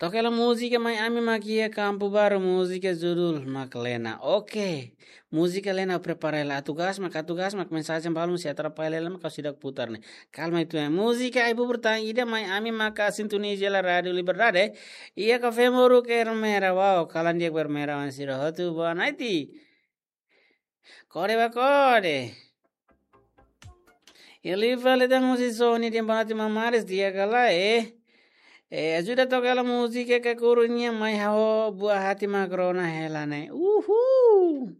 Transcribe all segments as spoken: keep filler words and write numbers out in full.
Toka hela múzika Mai Ami mak iha Kampu Baru, múzika judul mak Lena. Oke. Múzika Lena prepara hela. Atu gas mak, atu gas mak, mensajen balun se atrapalla hela mak ha'u seidauk putar ne'e. Kalma uitoan. Múzika ai-bubur tan ida Mai Ami maka sintoniza hela Rádiu Liberdade. Iha Kafé Moruk Ermera. Wow, kalan di'ak ba Ermera oan sira hotu. Boa noite. Kore ba kore. Liu fali tan husi Sony dehan boa noite maun Maris, di'ak ka lae. Eh, ajuda toka hela múzika Kakuru nian, mai ha'u buat hati mak rona hela ne'e. Uhul.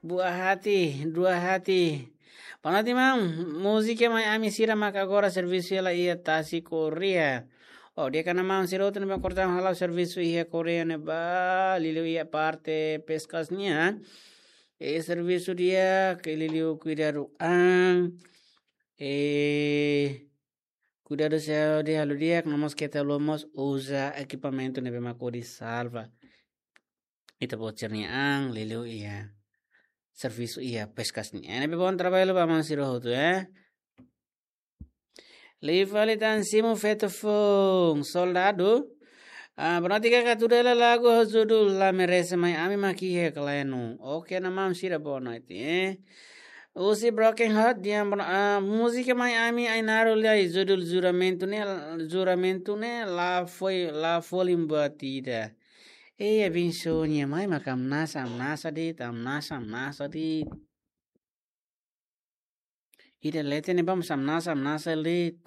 Buat hati, dua hati. Boa noite maun, múzika Mai Ami sira mak agora servisu hela iha tasi Korea. Oh, di'ak ona maun sira hotu ne'ebé kortan hala'o servisu iha Korea ne'ebá, liuliu iha parte peskas nian. Eh, servisu di'ak, liuliu kuidadu an. Eh, kuidadu saúde halo di'ak, no mós keta haluha mós uza ekipamentu ne'ebé mak hodi salva ita-boot sira-nia an, liuliu iha servisu iha peskas nian. Ne'ebé bom trabalho ba maun sira hotu, eh. Liu fali tan simu feto foun, soldadu. Ah, boa noite kaka, tuda hela lagu ho judul La Merece Mai Ami mak iha ka lae. Oke, ona maun sira boa noite, eh. Husi Broken Heart dehan boa no-, ah, múzika Mai Ami Ainaro lai, judul Juramentu ne'e, Juramentu ne'e la foi, la folin buat ida. Ei, abensoa nia mai mak hamnasa, hamnasa de'it, hamnasa, hamnasa de'it. Ida leten ne'ebá mós hamnasa, hamnasa de'it.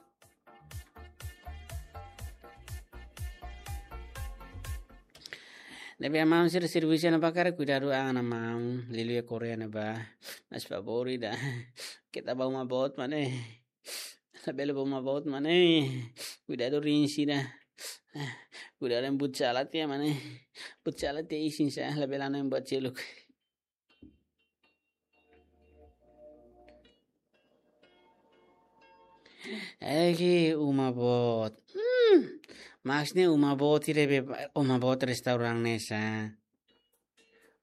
Ne'ebé maun sira servisu ne'ebá karik kuidadu an ona maun, liuliu iha Korea ne'ebá. Mas favór ida. Keta ba uma boot mak ne'e. Labele ba uma boot mak ne'e. Kuidadu rin sira. Kuidadu buat sala tiha mak ne'e. Buat sala tiha isin sa, labele hanoin buat seluk. Eki uma boot. Hmm. Maksudnya uma boot ida be, uma boot restaurante ne'e sa.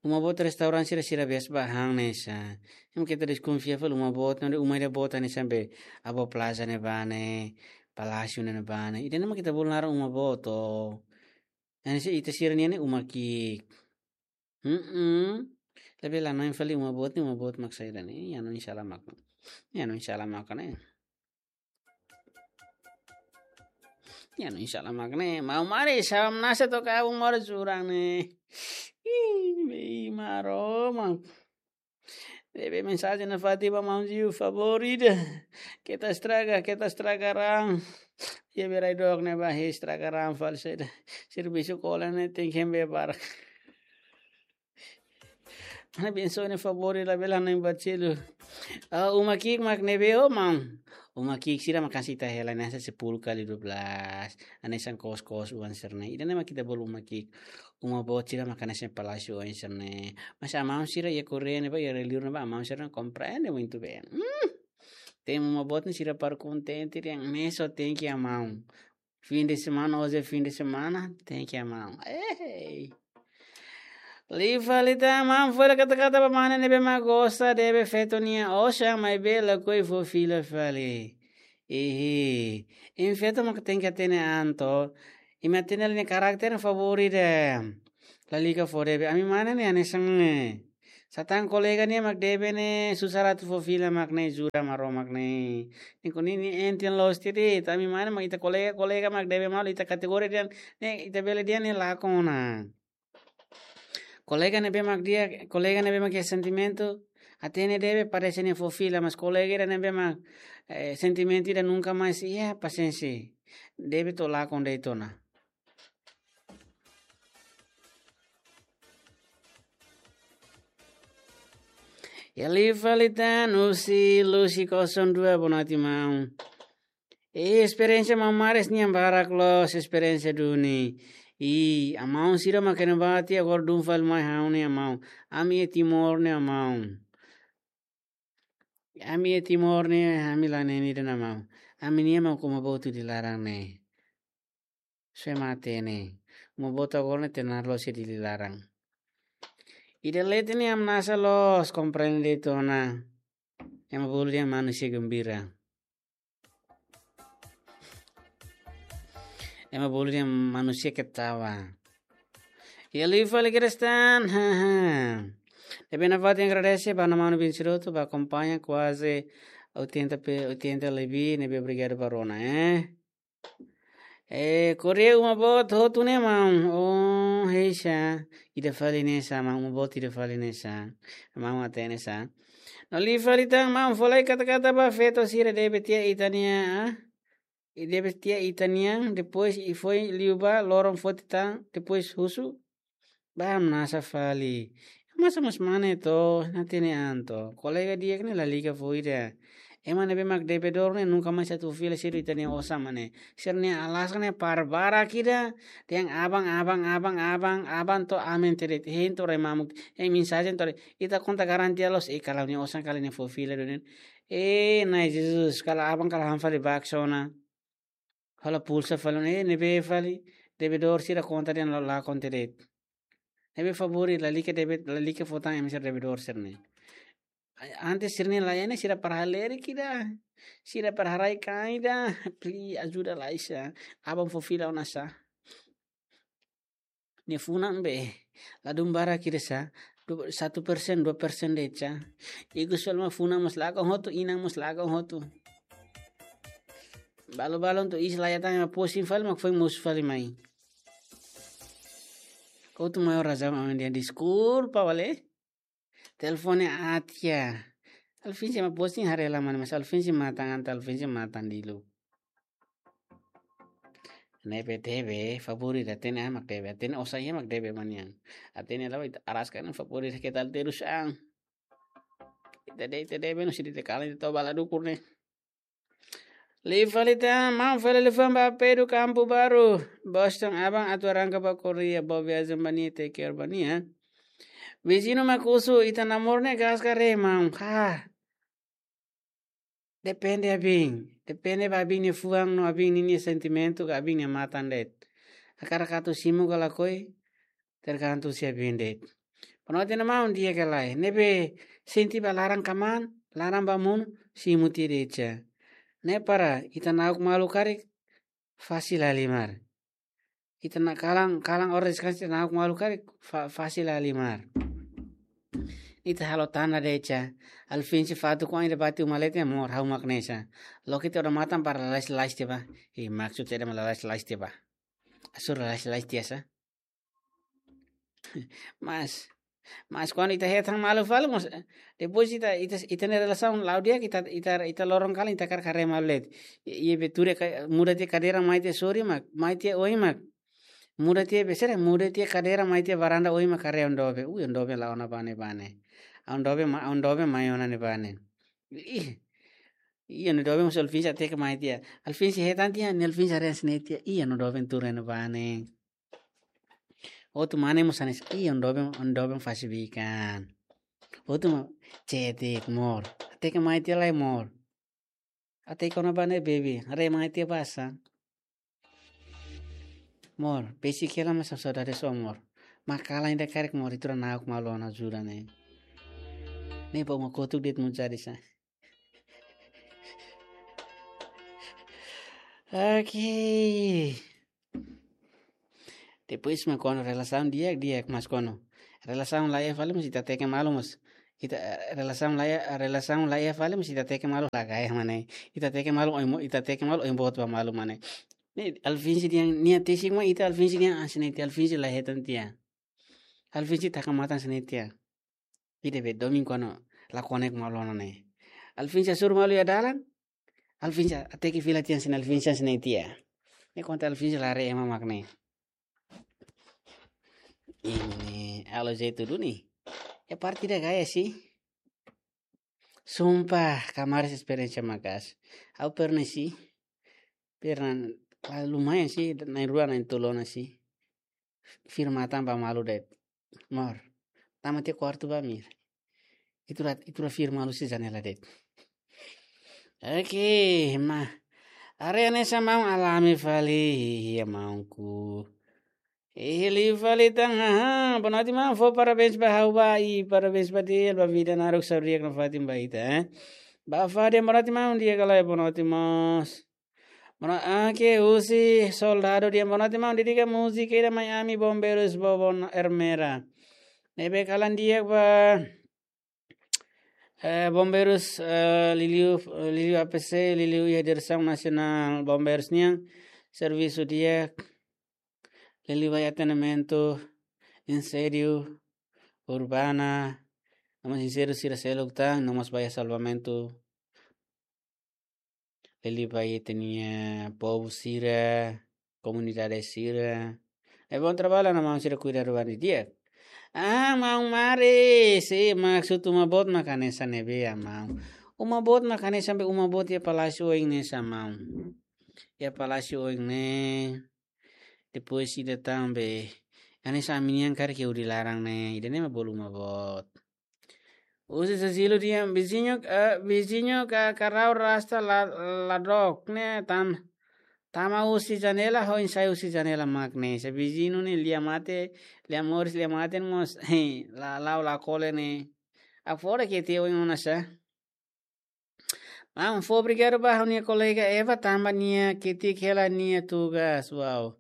Uma boot restaurante sira, sira biasa ba han ne'e sa. Ema keta deskonfia fali uma boot, ne'e uma ida boot hanesan be Abóbora Plaza ne'ebá ne'e, Palásiu ne'ebá ne'e. Ida-ne'e mak ita bolu naran uma boot. Hanesan ita sira-nian ne'e uma ki'ik. Hmm. Tapi la hanoin fali uma boot ne'e, uma boot mak saida ne'e. Nia hanoin sala mak. Nia hanoin sala mak ne'e. Nia hanoin sala mak ne'e. Maun Maris, hamnasa to'o kalan mós jurang ne'e. Ih, bem, Maromak. Ne'ebé mensajen nafatin ba maun Ziu, favór ida. Keta estraga, keta estraga ran. Iha beira-dook ne'ebá estraga ran fali saida. Servisu kola ne'e tenke hembé barak. Maun abensoa ne'e favór ida, labele hanoin buat seluk. Ah, uma ki'ik mak ne'ebé ho maun. Uma ki'ik sira mak hanesan ita hela ne'e hanesan sepuluh kali dua belas. Hanesan kos-kos oan sira-ne'e. Ida-ne'e mak ita bolu uma ki'ik. Uma boot sira mak hanesan palásiu oan sira-ne'e. Mas amaun sira iha Korea ne'ebá, iha liur ne'ebá, amaun sira komprende muito bem. Hmm. Tem uma boot ne'e sira para kontente, tem meso, tem que amaun. Fim de semana, hoje é fim de semana, tem que amaun. Ei. Liu fali tan maun, fó hela kata-kata ba mane ne'ebé mak gosta debe feto nia osan, maibé lakohi fó fila fali. Ihi. Imi feto mak tenke hatene an to. Imi hatene hela nia karakter favór ida. Lalika fó debe. Ami mane ne'e hanesan ne'e. Satán kolega nia mak debe ne'e susar atu fó fila mak ne'e, jura Maromak ne'e. Ne'e kuning ne'e enten loos tiha de'it. Ami mane mak ita kolega, kolega mak debe malu, ita kategoria dehan ne'e, ita bele dehan ne'e lakon ona. Kolega ne'ebé mak di'ak, kolega ne'ebé mak iha sentimentu, hatene debe, parese nia fó fila, mas kolega ida ne'ebé mak, eh, sentimentu ida nunka mais iha, pasiénsia. Debe to'o lakon de'it ona. Iha liu fali tan husi Lucy kosong dua, boa noite maun. Eh, esperiénsia maun Maris nian barak loos, esperiénsia duni. I, amaun sira mak iha ne'ebá tiha agora dún fali mai ha'u-nia amaun. Ami iha Timor ne'e amaun. Ami iha Timor ne'e, ami la hatene ida-ne'e maun. Ami-nian mak uma boot Dili laran ne'e. Sue mate ne'e. Uma boot agora ne'e hatene loos iha Dili laran. Ida leten ne'e hamnasa loos, komprende de'it ona. Ema bolu dehan manusia gembira. Ema bolu dehan manusia ketawa. Iha liu fali Kristan, haha. Ne'ebé nafatin agradese ba maun-alin sira hotu ba akompaña kuaze oitenta pe, oitenta lebih, ne'ebé obrigadu ba rona, eh. Eh, Korea uma boot hotu ne'e maun. Oh, heisa. Ida fali ne'e sá, maun, uma boot ida fali ne'e sá. Maun hatene sá. No liu fali tan maun, fó lai kata-kata ba feto sira debe tiha ita-nia, ah? I debe tiha ita-nian, depois i foin liu ba, loron foti tan, depois husu. Ba hamnasa fali. Masa mós mane to, hatene an to. Kolega di'ak ne'e lalika fó ida. Ema ne'ebé mak debedór ne'e nunka mais atu fó fila sira ita-nia osan mane. Sira-nia alasan ne'e para barak ida. Dehan aban, aban, aban, aban, aban to'o aman de'it. Hein to'o rai mamuk. Hein mensajen to'o rai. Ita konta garantia loos. Eh, kala nia osan kala nia fó fila duni. Eh, Na'i Jesus, kala aban kala han fali bak sona. Hola pulsa fali ona, eh, ne'ebé fali, debedór sira konta dehan la, lakon de'it. Ne'ebé favór lalika debe, lalika fó tan ema sira debedór sira-ne'e. Antes sira-ne'e la iha ne'e sira para halerik ida. Sira para haraik an ida. Pli ajuda lai sá. Aban fó fila ona sá. Nia funan be, ladún barak ida sá, du-, satu persen, dua persen de'it sá. Ikus fali mak funan mós lakon hotu, inan mós lakon hotu. Balu-balu to'o iis la iha tan ema posting fali mak foin mosu fali mai. Kau tu maior razão amen dia deskulpa, vale? Telefone aat ya. Alvin sih mak posting haree la mane, mas Alvin sih matan anta, Alvin sih matan dilu. Ne'ebé debe, favór ida hatene an mak debe, hatene osan iha mak debe ba nia an. Hatene la'ós ita araska ne'e favór ida keta terus an. Ita de'it, ita debe no sidi te kala ita toba la dukur ne'e. Liu fali tan, maun fali liafuan ba Pedro Campo Baru. Boston, aban atu arranka ba Korea, boa viagem ba nia, take care ba nia. Viziñu mak husu, ita namor ne'e gaska haree maun. Ha. Depende abin. Depende ba abin nia fuan no abin ninia sentimentu ka abin nia matan de'it. Hakarak atu simu ka lakohi, tergantung husi abin de'it. Panote na maun di'ak ka lae. Ne'ebé sente ba laran kamaan, laran ba monu, simu tiha de'it sá. Ne'e para ita na'ok malu karik, fasil halimar. Ita na kalan, kalan ora deskansa ita na'ok malu karik, fa-, fasil halimar. Ita halo tanda de'it sá. Alvin sih fatuk kuan ida bati uma leten amor, ha'u mak ne'e sá. Loke ita odamatan para lalais-lalais tiha ba. Ih, maksud ida mak lalais-lalais tiha ba. Hasoru lalais-lalais tiha sá. Mas, mas kuandu ita hetan malu fali mós, depois ita, ita, ita-nia relasaun la'o di'ak, ita, ita, ita loron kalan ita hakarak haree malu de'it. I, i be tuur ka, muda tiha kadeira mai tiha sorin mak, mai tiha oin mak. Muda tiha be sira, muda tiha kadeira mai tiha varanda oin mak haree oan doben. Ui, oan doben la'o ona ba ne'ebá ne'e. Oan doben ma, oan doben mai ona ne'ebá ne'e. Ih, ih, oan doben mós Alvin sih hateke mai tiha. Alvin sih hetan tiha, ne'e Alvin sih haree hanesan ne'e tiha. Ih, oan doben tuur ne'ebá ne'e. Hotu mane mós hanesan, ih, oan doben, oan doben fase bikan. Hotu mak, cetek, amor. Hateke mai tiha lai, amor. Hateke ona ba ne'e, baby. Haree mai tiha ba sá. Amor, besik hela mak saudade só, amor. Mak kalan ida karik, amor, ita rua na'ok malu ona jura ne'e. Ne'e ba uma kotuk de'it mós jadi sá. Oke. Depois mak kuandu relasaun di'ak, di'ak, mas kuandu relasaun la iha fali mós ita teke malu mós. Ita, eh, relasaun la iha, relasaun la iha fali mós ita teke malu la gaya mane. Ita teke malu oin mo-, ita teke malu oin boot ba malu mane. Ne'e Alvin sih dehan, nia tesik mak ita Alvin sih dehan hanesan ne'e tiha, Alvin sih la hetan tiha. Alvin sih taka matan hanesan ne'e tiha. Ida be domin kuandu la konek malu ona ne'e. Alvin sih hasoru malu iha dalan. Alvin sih hateke fila tiha hanesan ne'e, Alvin sih hanesan ne'e tiha. Ne'e konta Alvin sih la haree ema mak ne'e. Ini, alo jeito duni. Ya parte ida gaya sih. Sumpah, kamaris esperiénsia maka'as. Ha'u pernah sih. Pernah, ah, lumayan sih, na'in rua, na'in tolu ona sih. Fir matan ba malu de'it. Amor, tama tiha kuartu ba, amor. Ita rua, ita rua fir malu husi janela de'it. Oke, ma. Haree hanesan maun alami fali, iha maunku. Iha liu fali tan, haha. Boa noite, maun. Fó parabéns ba ha'u ba, i parabéns ba Deus, ba vida naruk saúde di'ak nafatin ba ita, eh. Ba Fadian, boa noite, maun. Di'ak ka lae, boa noite, mós. Mana ake husi soldadu dia, mana te mau dedika múzika ida mai ami Bombeirus Bobon Ermera. Ne'ebé kalan di'ak ba, eh, Bombeirus, eh, liuliu, liuliu A P C, liuliu iha Diresaun Nasionál Bombeirus nian, servisu di'ak, liuliu ba atendimentu, inséndiu urbana, no mós inséndiu sira seluk tan, no mós ba iha salvamentu, liuliu ba ita-nia povu sira, komunidade sira. É bom trabalho na maun sira kuidadu ba nia di'ak. Ah, maun Mari, si maksud uma boot mak hanesan ne'ebé, maun? Uma boot mak hanesan be uma boot iha palásiu oin ne'e, sa maun? Iha palásiu oin ne'e. Depois ida tan be hanesan ami-nian karik hodi laran ne'e, ida-ne'e mak bolu uma boot. Husi Sasilu dehan, viziñu, eh, viziñu ka karau rasta la, ladrón ne'e tan, tama husi janela, ho insai husi janela mak ne'e. Se viziñu ne'e lia mate, lia moris, lia mate mós, la, la'o la kole ne'e. Afora ke te oin ona sa. Maun, fó obrigadu ba ha'u-nia kolega Eva, tanba nia ketik hela nia tugas, uau.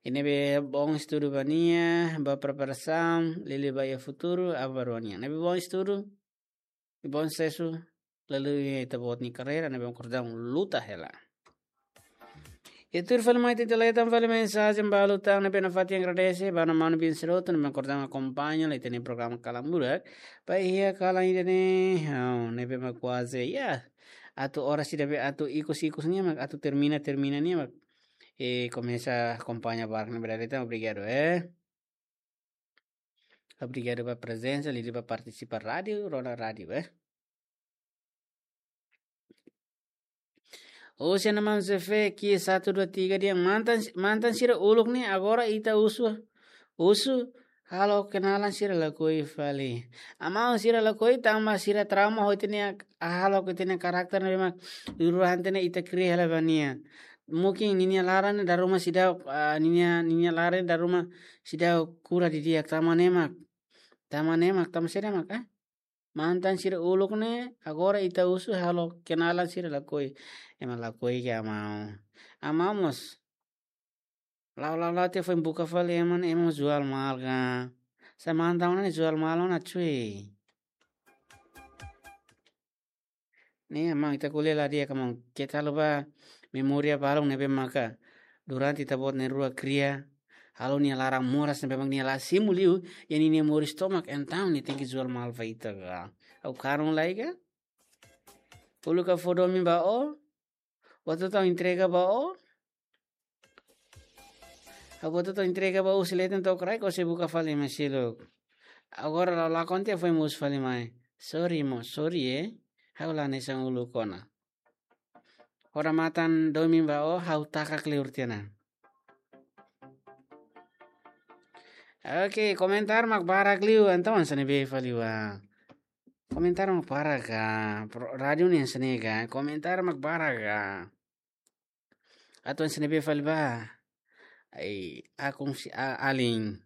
Ne'ebé bom estudu ba nia, ba preparasaun, liuliu ba iha futuru, aban-bainrua nian. Ne'ebé bom estudu, bom susesu, liuliu iha ita-boot nia karreira, ne'ebé bom kordaun luta hela. I tuir fali mai ita-nia letan fali mensajen balu tan ne'ebé nafatin agradese ba mana manu bin seroto ne'ebé kordaun akompaña lai ita-nia programa Kalan Murak. Ba iha kalan ida-ne'e, oh, ne'ebé mak kuaze, ya. Atu oras ida be atu ikus-ikus nian mak, atu termina, termina nian mak. E komesa akompaña barak ne'e berarti tan obrigadu, eh. Obrigadu ba prezensa, liuliu ba partisipa rádiu, rona rádiu, eh. Husi Ana Maun Zefe, ki satu dua tiga dehan, mantan, mantan sira uluk ne'e, agora ita husu, husu, halo kenalan sira lakohi fali. Amaun sira lakohi, tanba sira trauma ho ita-nia, halo ho ita-nia karakter ne'ebé mak, dulu han ita-nia ita kria hela ba nia. Mungkin ninia laran ne'e dala ruma seidauk, ah, ninia, ninia laran ne'e dala ruma seidauk kura didi'ak, tanba ne'e mak. Tanba ne'e mak, tanba saida mak, eh? Mantan sira uluk ne'e, agora ita husu halo kenalan sira lakohi. Ema lakohi ke amaun. Amaun mós. La'o, la'o, la'o, tiha foin buka fali ema ne'e, ema mós jual mahal ka. Sa mantan ne'e jual mahal ona, cuy. Ne'e, maun, ita ko'alia la di'ak ka maun, keta haluha ba memória balun ne'ebé maka durante ita-boot na'in-rua kria, halo nia laran moras ne'ebé mak nia la simu liu, i ninia moris tomak, entaun nia tenke jual mahal ba ita ka. Ha'u karun lai ka? Uluk ha'u fó domin ba ó, ó atu tau entrega ba ó, ha'u atu tau entrega ba ó husi leten to'o kraik, ó sei buka fali mai seluk. Agora la'o lakon tiha foin mós fali mai. Sorry mo, sorry, eh. Ha'u la hanesan uluk ona. Hora matan domin ba ó, ha'u taka kleur tiha ona. Oke, komentar mak barak liu, entaun hanesan ne'ebé fali ba. Komentar mak barak ka, pro-, rádiu ne'e hanesan ne'e ka, komentar mak barak ka. Atu hanesan ne'ebé fali ba. Ai, akun si a-, alin.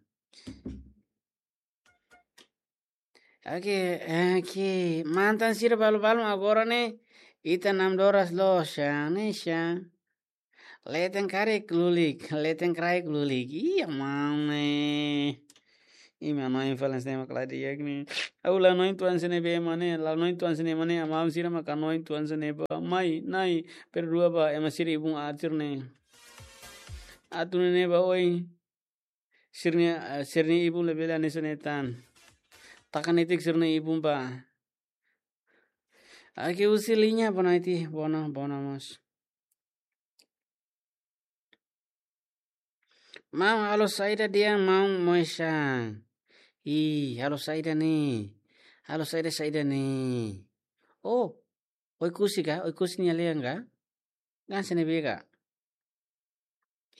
Oke, oke. Mantan sira balu-balu agora ne'e, ita namdoras loos, sa, ne'e sa. Leten karik lulik, leten kraik lulik. Iya, maun ne'e. Imi hanoin fali hanesan ne'e mak la di'ak ne'e. Ha'u la hanoin tuan hanesan ne'ebé mak ne'e, la hanoin tuan hanesan ne'e mak ne'e, amaun sira mak hanoin tuan hanesan ne'e ba. Mai, nai, perdua ba, ema sira ibun atir ne'e. Atu nune'e ba oin. Sira-nia, eh, sira-nia ibun labele hanesan ne'e tan. Taka netik sira-nia ibun ba. Oke, husi liña Bonaiti, bona, bona mós. Maun, halo saida dehan maun Moisang? Ih, halo saida ne'e? Halo saida, saida ne'e? Oh, Oekusi ka? Oekusi nia lean ka? Hanesan ne'ebé ka?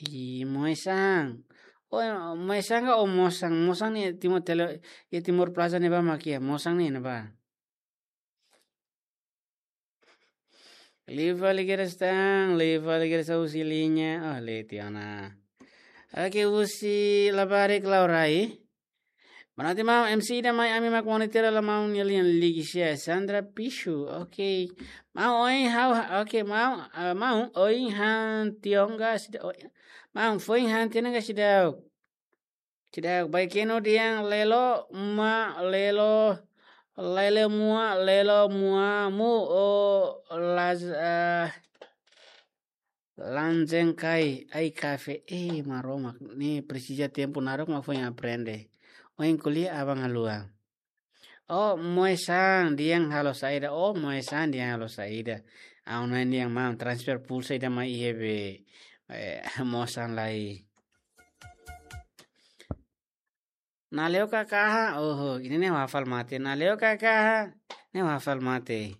Ih, Moisang. Oh, Moisang ka, oh, Mosang. Mosang ne'e Timor Tele, iha Timor Plaza ne'ebá mak iha. Mosang ne'e ne'ebá. Liu fali kedas tan, liu fali kedas husi liña. Oh, leti ona. Oke, husi labarik Laurai. Bonoite maun, M C ida mai ami mak monitor hela maun nia lian, Ligia Sandra Pichu. Oke. Maun oin ha'u, oke, maun, ah, maun oin han tiha ona seidauk. Maun foin han tiha ona seidauk. Seidauk, baikenu dehan lelo ma lelo, lele mua, lelo mua mu o las, ah, lanjeng kai ai kafe. Eh, Maromak, ne'e presiza tempu naruk mak foin aprende. Oin ko'alia aban-bainrua. Oh, moe saan dehan halo saida. Oh, moe saan dehan halo saida. Ha'u hanoin dehan maun transfer pulsa ida mai iha be, eh, moe saan lai. Naleu kakaha, oho, ida-ne'e ha'u hafal mate. Naleu kakaha, ne'e ha'u hafal mate.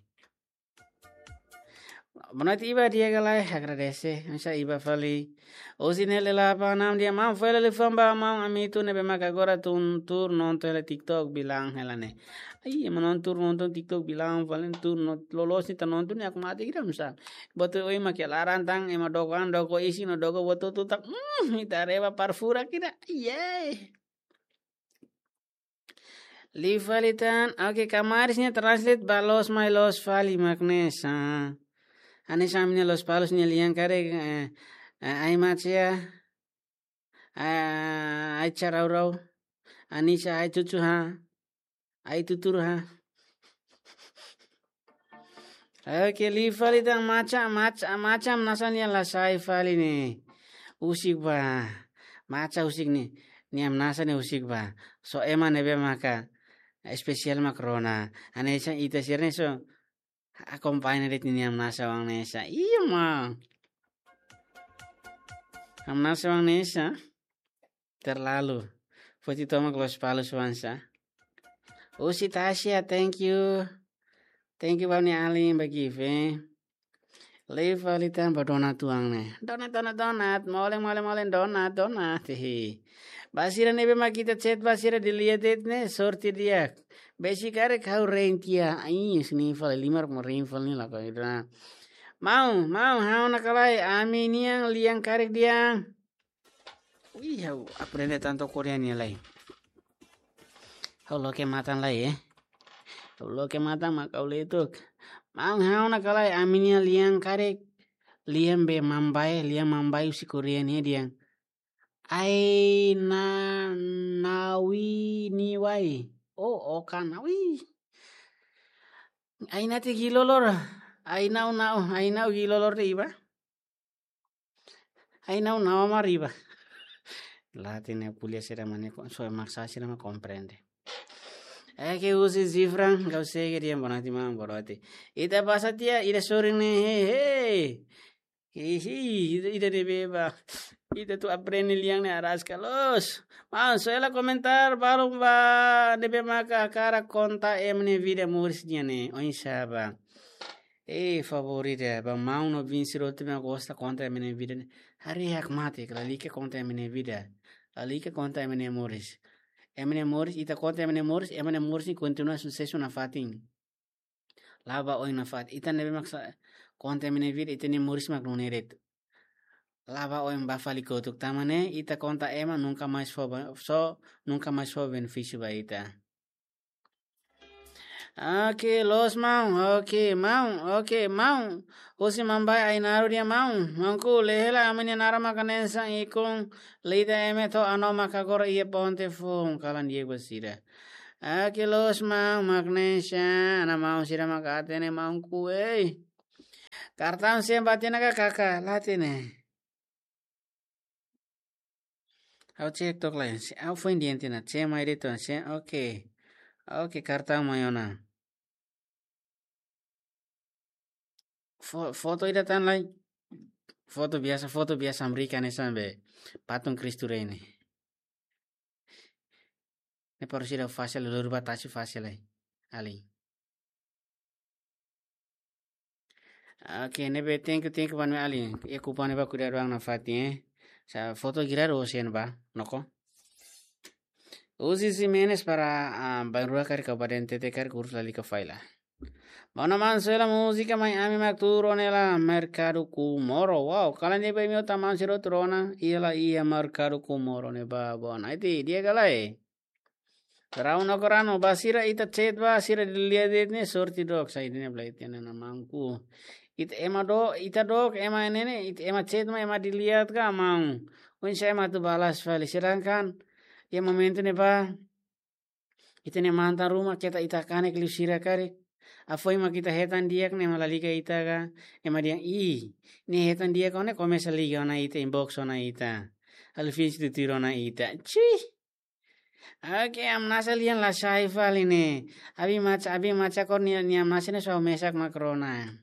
Bonoite Iba, di'ak ka lae, agradese. Misa Iba fali. Husi Nele Lapa Anam dehan maun fali liafuan ba maun Amito ne'ebé maka agora tuur nonton hela TikTok bilang hela ne'e. Ai, ema nonton, tuur nonton TikTok bilang fali tuur no loloos ne'e ita nonton ne'e hakmatek ida misa. Buat oin mak iha laran tan, ema doko an, doko isin no doko buat hotu tan. Hmm, ita reba parfura kira. Iye. Liu fali tan, oke, Kamaris nia translate ba loos mai loos fali mak ne'e sá. Hanesan ami-nia Lospalos nia lian karik, eh, eh, ai macia, eh, ai carau-rau, anisa ai cucu ha, ai tutur ha. Oke, liu fali tan maca, maca, maca hamnasa nia la sai fali ne'e. Husik ba. Maca husik ne'e. Nia hamnasa ne'e husik ba. Só ema ne'ebé maka espesiál mak rona. Hanesan ita sira ne'e só akompaña de'it nia hamnasa oan ne'e sá. Iya, ma. Hamnasa oan ne'e sá. Terlalu. Foti tomak Lospalos oan sá. Husi Tasia, thank you. Thank you ba nia alin ba gift, eh. Liu fali tan ba donat oan ne'e. Donat, donat, donat. Molen, molen, molen, donat, donat. Hehe. Ba sira ne'ebé mak ita chat ba sira di'ak de'it ne'e, sorte di'ak. Besik karik ha'u rein tiha. Ai, sini fali limar mo rein fali ne'e la ko ida. Maun, maun, ha'u-nia ka lae, ami-nian lian karik dehan. Ui, ha'u aprende tantu Korea nia lai. Ha'u loke matan lai, eh. Ha'u loke matan mak ha'u letuk. Maun, ha'u-nia ka lae, ami-nia lian karik. Lian be mambae, lian mambae husi Korea nia dehan. Ai na nawi ni wai. Oh, okan nawi. Ai nate gilolor. Ai nau nau, ai nau gilolor de'it ba. Ai nau nau mari ba. La hatene ko'alia sira mane kon, so maksa sira mak komprende. Eh, ke husi Zifran, kau sege dia bonati mam boroti. Ita pasa tiha, ida sorin ne'e, hei, hei. Hihi, ida, ida ne'ebé ba. Ita atu aprende lian ne'e araska loos. Maun, soe hela komentar balu ba ne'ebé maka hakarak konta ema nia vida moris nian ne'e. Oinsá ba. Eh, favór ida ba maun no bin sira hotu mak gosta konta ema nia vida ne'e. Haree hakmatek, lalika konta ema nia vida. Lalika konta ema nia moris. Ema nia moris, ita konta ema nia moris, ema nia moris ne'e kontinua susesu nafatin. La ba oin nafatin. Ita ne'ebé mak sa konta ema nia vida, ita-nia moris mak nune'e de'it. La ba oin ba fali kotuk, tanba ne'e ita konta ema nunka mais fó ba, só nunka mais fó benefísiu ba ita. Oke, loos maun, oke, maun, oke, maun. Husi mambae Ainaro dehan maun. Maunku, lee hela ami-nia naran maka hanesan ikun lida eme to'o ano maka agora iha ponte foun, kalan di'ak ba sira. Oke, loos maun, mak hanesan, ana maun sira maka hatene maunku, ei. Kartaun sen ba tiha ona ka kaka, la hatene. Ha'u cek took lai, se ha'u foin di'ak tiha ona, cek mai de'it ona, cek, oke. Oke, kartaun mai ona. Fo-, foto ida tan lai. Foto biasa, foto biasa Amerika ne'e sambe patung Kristu Rei ne'e. Ne'e para sira fásil, lori ba tasi fásil lai. Alin. Oke, ne'ebé thank you, thank you ba ami-nia alin. Iha kupang ne'ebá kuidadu an nafatin, eh. Sa foto girado ocean ba, noko. Uzi Ximenes para, ah, bainrua karik ka ba dentete karik urus lalika faila. Maun, maun, soe hela múzika mai ami mak tuur ona hela Merkadu Comoro. Wow, kalan di'ak ba imi hotu maun sira hotu rona, iha la iha Merkadu Comoro ne'ebá, bona. Iti, di'ak ka lae? Rau no korano ba sira ita chat ba sira dilihat de'it ne'e sorte dook sai dene bla ita ne'e na mangku. Ita ema do, ita dook ema ne'e ne'e, ita ema chat ma ema dilihat ka mau. Oinsá ema atu balas fali. Sedangkan iha momentu ne'ebá ita-nia mantan ruma keta ita kanek liu sira karik. Afoin mak ita hetan di'ak ne'e ema la liga ita ka. Ema dehan ih, ne'e hetan di'ak ona komesa liga ona ita, inbox ona ita. Halo finsi tutuir ona ita. Cih. Oke, Amnasa lian la sai fali ne'e. Abi maca, abi maca kor nia, nia Amnasa ne'e só mesak mak rona.